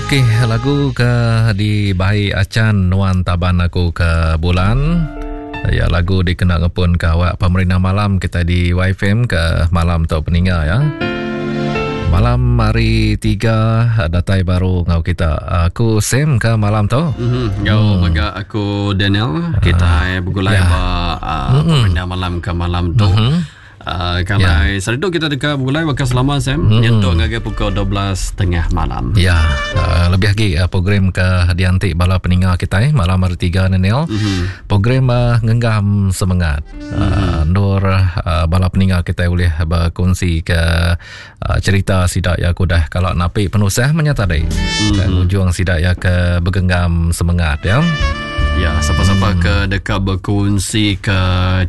Okey, lagu ke dibai Achan Nuan Taban Aku ke Bulan. Ya, lagu dikena ngepun ke awak pemerintah malam kita di YFM ke malam tu peninga ya. Malam hari tiga datai baru ngau kita. Aku Sam ke malam tu. Mm-hmm. Ngau hmm. mega aku Daniel. Kita uh, begulai ya. ba uh, mm-hmm. pemerintah malam ke malam tu. Mm-hmm. Uh, kalau yeah. sehari tu kita deka begulai baka selama Sam mm-hmm. nyentuk ngagai pukul 12.30 malam. Ya, yeah. uh, lebih lagi uh, program ke dianti bala peninga kita eh, malam hari tiga ni Neil. Mm-hmm. Program uh, ngenggam semangat. Mm-hmm. Uh, nur uh, bala peninga kita boleh berkongsi ke uh, cerita sidak ya aku dah kalau napi penusah menyata tadi. Mm-hmm. Dan ujung sidak ya ke bergenggam semangat ya. Ya, siapa-siapa hmm. ke dekat berkongsi ke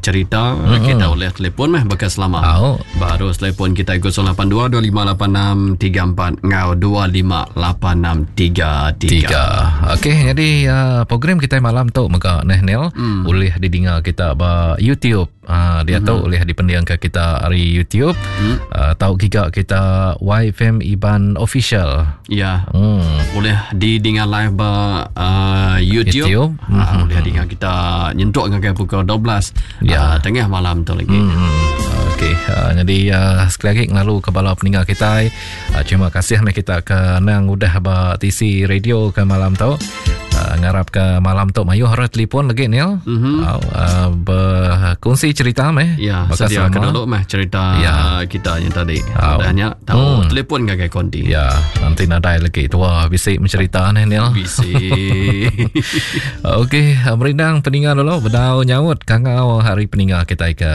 cerita, hmm. kita boleh telefon meh bekas selama. Oh. Baru telefon kita 082 2586 34 ngau 2586 33. Okey, jadi uh, program kita malam tu mega neh Neil hmm. boleh didengar kita ba YouTube. Uh, dia mm-hmm. tu boleh dipendiang ke kita hari YouTube. Mm. Uh, tahu giga kita YFM Iban Official. Ya. Mm. Boleh didengar live ba uh, YouTube. YouTube. Uh, mm-hmm. Boleh dengar kita nyentuk ngagai pukul 12 ya. uh, tengah malam tu lagi. Mm-hmm. Okey, uh, jadi uh, sekali lagi ngelalu ke bala peninggal kita. Uh, terima kasih meh kita ke nang udah ba TC radio ke malam tu. Uh, ngarap ke malam tu mayuh orang telefon lagi ni. Mm-hmm. Uh, uh, berkongsi cerita meh. Ya, sedia ke dulu meh cerita ya. kita yang tadi. Uh, Udahnya tahu hmm. telefon ngagai konti. Ya, nanti nadai lagi tua bisi mencerita ni Neil. Bisi. Okey, merindang peninga dulu bedau nyaut kangau hari peninga kita ke.